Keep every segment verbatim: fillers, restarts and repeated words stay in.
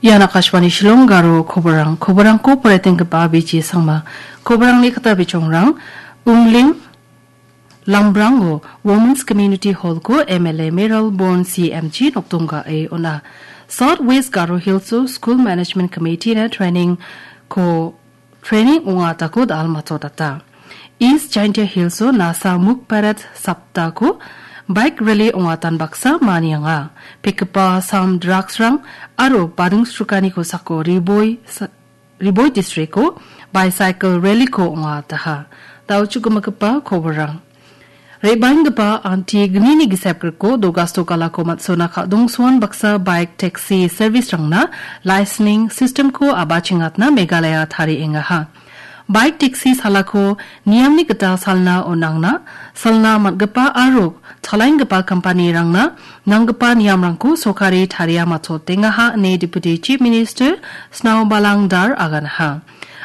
Ian Akashvani Shillong Garo koborang, koborangko poraitenggipa B J Sangma. Koborangni kata bichongrang, Umling, Lambrango Women's Community Hall-ko M L A Mayralborn C M G nokdonggae ona. South West Garo Hills-o School Management Committee-na training-ko training ong·atako dal·matodata. East Jaintia Hills-o Nasa Mukt Bharat Saptako bike rally ong·atan baksa manianga. Pekgipa sam drugs-rang aro bading srukani kosako Riboi sa-, Riboi district-o bicycle rally-ko ong·ataha. Dal·chugimagipa koborrang. Re·baenggipa anti gnini gisepgriko Dogasto Kalako Matsona Kadongsuan baksa bike taxi service-rangna licensing system-ko abachengatna Meghalaya tariengaha. Bike taxi salako niamni gita salna on·angna, salna man·gipa aro chalaenggipa company-rangna nanggipa niamrangko sorkari taria matotengaha ine Deputy Chief Minister Snao Balang Dar aganaha.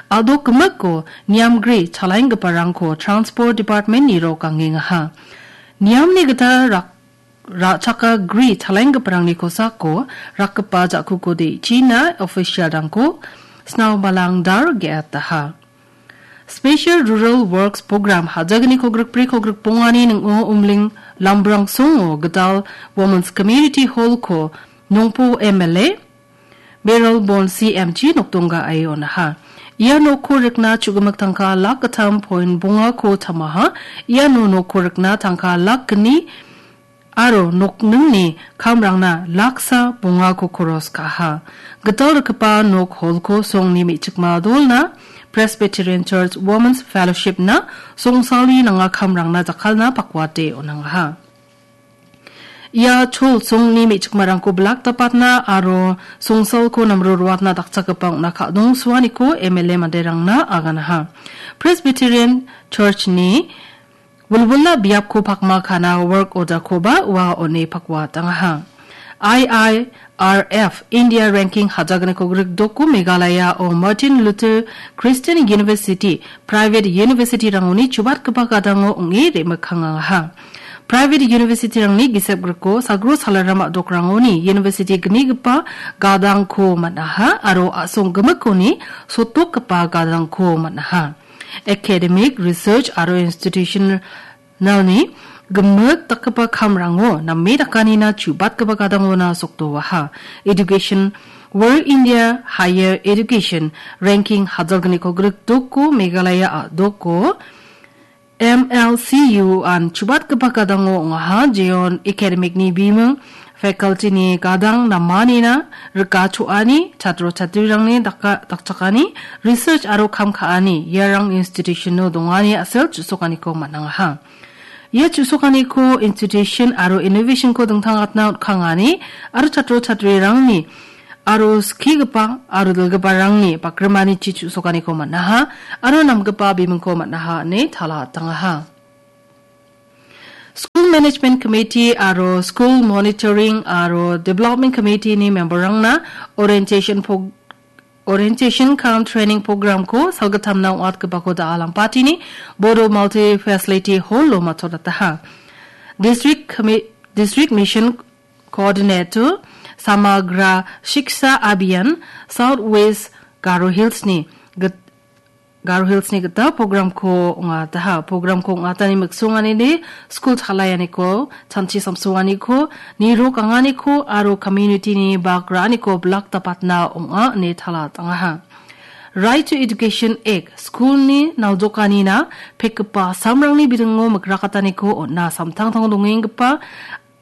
Adok gimikko niamgri chalaenggiparangko Transport Department-ni rokangengaha. Niamni gita rak-, ra·chakagri chalaenggiparangni kosako rakgipa ja·kuko de·china official-rangko Snao Balang Dar ge·ataha. Special Rural Works Program hajagniko grikbriko grikbongani ning·o Umling Lambrang songo gital Women's Community Hall-ko Nongpo M L A Mayralborn C M G nokdonggae onaha. Ia nokko rikna chu·gimik tangka lak gittam point bongako tamaha. Iano nokko rikna tangka lak gni aro nokningni kamrangna laksa bongako koros ka·aha. Gital rikgipa nok hall-ko songni me·chikma dolna Presbyterian Church Women's Fellowship-na songsalni nanga kamrangna jakkalna pakwate on·angaha. Ia chol songni me·chikmarangko bilak dapatna aro songsalko namro ruatna dakchakgipa ong·na ka·dongsuaniko M L A manderangna aganaha. Presbyterian Church-ni wilwila biapko pakma ka·na work order-koba ua on·e pakwa tangaha. I I R F India Ranking hajagniko grikdoko Meghalaya-o Martin Luther Christian University, private university-rangoni chubatgipa gadango ong·e re·mikkangaha. Private university-rangni gisepgriko sagro salaram a·dokrangoni university gnigipa gadangko man·aha aro a·song gimikoni sotokgipa gadangko man·aha. Academic, research aro institutional-ni gimik dakgipa kamrango name dakanina chubatgipa gadangona sokdoaha. Education, World India Higher Education Ranking hajalgniko grikdoko Meghalaya a·doko M L C U-an chubatgipa gadango ong·aha, jeon academic-ni biming, faculty-ni gadang namanina rikachoani, chatro chatrirangni daka-, dakchakani, research aro kam ka·ani, iarang institution-o dongani a·sel chu·sokaniko man·angaha. Ia chu·sokaniko institution aro innovation-ko dingtangatna otkangani aro chatro chatrirangni aro skigipa aro dilgiparangni bakrimanichi chu·sokaniko man·aha aro namgipa bimingko man·aha ine tala tangaha. School Management Committee aro School Monitoring aro Development Committee-ni member-rangna orientation pog-, orientation cum training program-ko salgittamna ong·atgipako da·al ampatini Bodo Multi Facility Hall-o matodataha. District Commi-, District Mission Coordinator Samagra Shiksha Abhiyan South West Garo Hills-ni git-, Garo Hills-ni gita program-ko ong·ataha. Program-ko ong·atani miksonganide skul chalaianiko, chanchi samsoaniko, nirok anganiko aro community-ni bak ra·aniko bilak dapatna ong·a ine tala tangaha. Right to Education Act, skulni naljokanina pekgipa samrangni bidingo mikrakataniko on·a samtangtango dongenggipa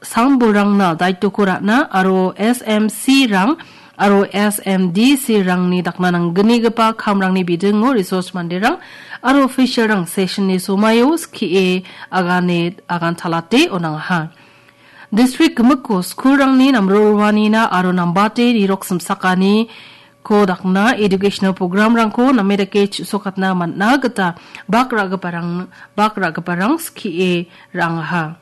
sambolrangna daitoko ra·na aro S M C-rang aro S M D C-rangni dakna nanggnigipa kamrangni bidingo resource manderang aro official-rang session-ni somaio skie agane agan talate on·angaha. District gimikko skulrangni namro roanina aro nambate nirok simsakaniko dakna educational program-rangko name dake chu·sokatna man·a gita bak ra·giparang, bak ra·giparang skie ra·angaha.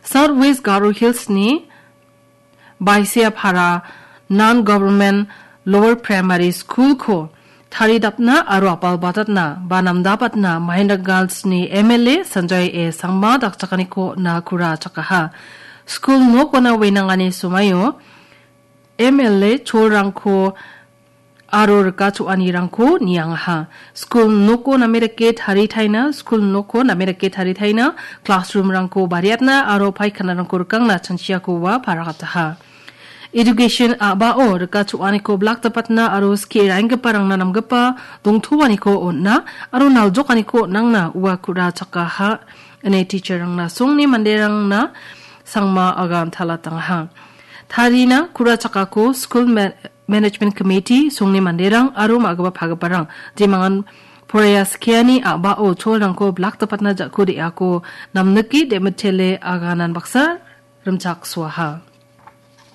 South West Garo Hills-ni Baisiapara Non-Government Lower Primary School-ko taridapna aro apalbatatna ba namdapatna Mahendra Ghats-ni M L A Sanjay A Sangma dakchakaniko nakura chakaha. Skul nokona wenangani somaio M L A cholrangko aro rika cho·anirangko niangaha. Skul noko name dake taritaina, skul noko name dake taritaina, classroom-rangko bariatna aro paikhanarangko rikangna chanchiako ua paragataha. Education a·bao rika cho·aniko blak dapatna aro skie ra·enggiparangna namgipa dongtoaniko on·na aro naljokaniko on·angna ua ku·ra chakaha ine teacher-rangna songni manderangna sangma agan talatangaha. Tarina ku·ra chakako skul ma-, management committee, songni manderang aro ma·gipa pagiparang jemangan poraiya skiani a·bao cholrangko blak dapatna ja·ko de·ako namnike demitele aganan baksa rimchaksoaha.